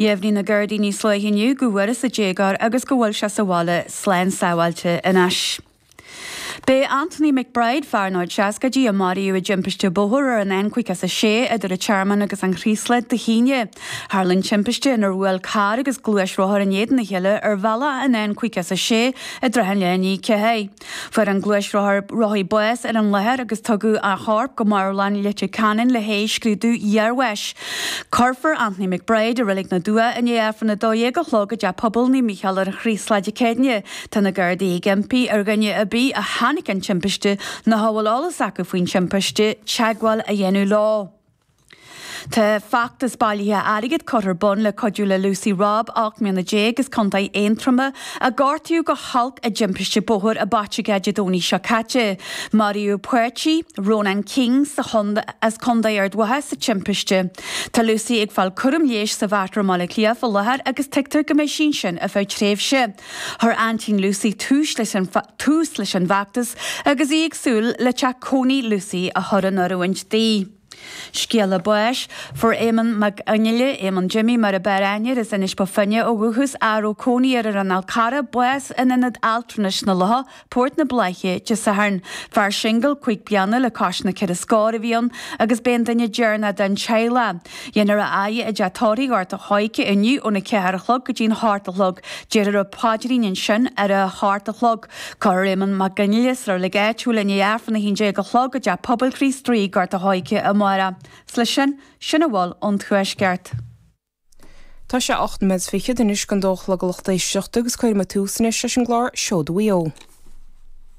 Dheimhnigh na Gardaí níos luaithe inniu go bhfuarthas an déagóir agus go bhfuil sé sa bhaile slán sábháilte anois. Beidh Anthony McBride, fear ina chuid seascaidí a maraíodh i dtimpiste bóthair ar an N56 idir an Tearmann agus an Chraoslaigh Dé hAoine. Tharla an timpiste inar bhuail carr agus gluaisrothar in éadan a chéile ar bhealach an N56 i dtrátha an lae i ndiaidh 4. Fuair an gluaisrothar rothaí bás ar an láthair agus tugadh a chorp go marbhlann Leitir Ceanainn le haghaidh scrúdú iarbháis. Cuirfear Anthony McBride i Reilig na dTuath i ndiaidh Aifreann 12 a chlog i dTeach Pobail Naomh Mícheál ar an Chraoslach Dé Céadaoine. Tá na Gardaí ag impí ar dhuine ar bith a chonaic an timpiste nó a bhfuil eolas acu faoin timpiste teagmháil a dhéanamh leo. Tá feachtas bailithe airgid curtha ar bun le cuidiú le Lucy Robb, 18 mbliana as Contae Aontroma, a gortaíodh go holc i dtimpiste bóthair i bPaiteagá Dé Domhnaigh seo caite. Maraíodh páirtí, Rónán King, sa as Contae Ard Mhacha sa timpiste. Tá Lucy ag fáil cúram leighis sa Mhater i mBaile Átha Cliath faoi láthair agus tuigtear go mbeidh sí ansin ar feadh tréimhse. Chuir aintín Lucy tús leis an tús leis an bhfeachtas agus í ag súil le teach cónaí Lucy a chur in oiriúint di. Scéala báis, Fuair Éamonn Mac Fhionnghaile, Éamonn Jimmy mar a b'fhearr aithne air, as Inis Bó Finne ó dhúchas, a raibh cónaí air ar an Fhál Carrach, bás in Ionad Altranais na Locha, Port na Bláiche, Dé Sathairn. Fear singil, 5 bliana le cois na ceithre scór a bhí ann agus b'é an duine deireanach den teaghlach. Dhéanfar a fhaire i dteach tórraimh Ghort a' Choirce inniu óna 4 a chlog go dtí'n 8 a chlog. Déarfar an paidrín ansin ar a hocht a chlog. Cuirfear Éamonn Mac Fhionnghaile sa reilig áitiúil i ndiaidh Aifreann 11 a chlog i dTeach Pobail Chríost Rí, Gort a' Choirce amárach. 'S leis sin, sin a bhfuil ón Tuaisceart. Tá sé 8 nóiméad is fichead anois don dó a chlog a lucht éisteachta agus cuirfidh muid tús anois leis an gclár Seoda Mhaigh Eo.